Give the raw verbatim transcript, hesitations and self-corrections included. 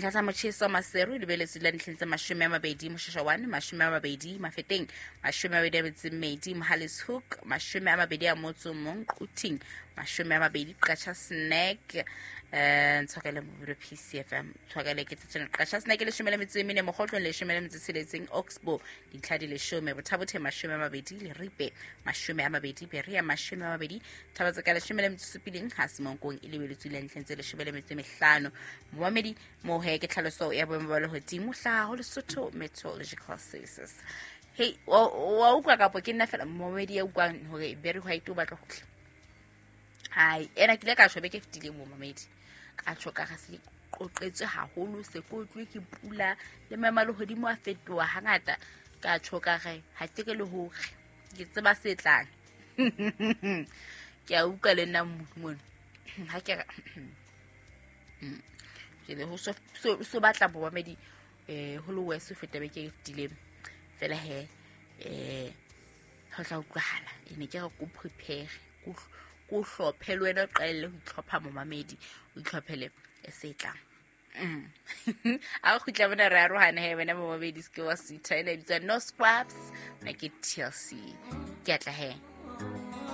Ntlha tsa motjheso Maseru e lebeletswe la ntlheng tse mashome a mabedi, Moshashawane mashome a mabedi, Mafeteng mashome a mabedi a metso e mmedi, Mohale's Hoek mashome a mabedi a motso o mong, Quthing mashome a mabedi, Qacha Snack eh ntshwakele mobulo P C F M tshwakele ke tsena Qacha Snack leshome le metso e mene, Mokgotlong leshome le metso e tsheletseng, Oxbow dintlha di leshome, Bothabothe mashome a mabedi, Leripe mashome a mabedi, Berea mashome a mabedi, Thabatseka leshome le metso e supileng, ha Semonkong e lebeletswe le ntlheng tse leshome le metso e mehlano. Momamedi mohe ke tlhaloso ya boemo ba lehodimo hlaha ho Lesotho Meteorological Services. Hey, wa utlwa kapo ke nna fela momamedi ya utlwang hore Barry White o batla ho tla. Hai, ena ke ile ka tjho beke e fetileng momamedi. Ka tjho ka re se qoqetswe haholo, se kotlwe ke pula le maemo a lehodimo a fetoha hangata. Ka tjho ka re ha ke re le hore ke tseba se tlang. Ke a utlwa le nna mona. Ha ke re ke le ho so, so, so batla momamedi eh ho le wese ho feta beke e fetileng. Fela he eh ho tla utlwahala. E ne ke re ko prepare, ko ko hlophe le wena o qalelle ho itlhopha momamedi, o itlhophele e se tlang. Mm. A re kgutla mona re arohane he wena momamedi, se ke wa sutha. Ena e bitswa No Scrubs, nna ke T L C. Ke a tla he.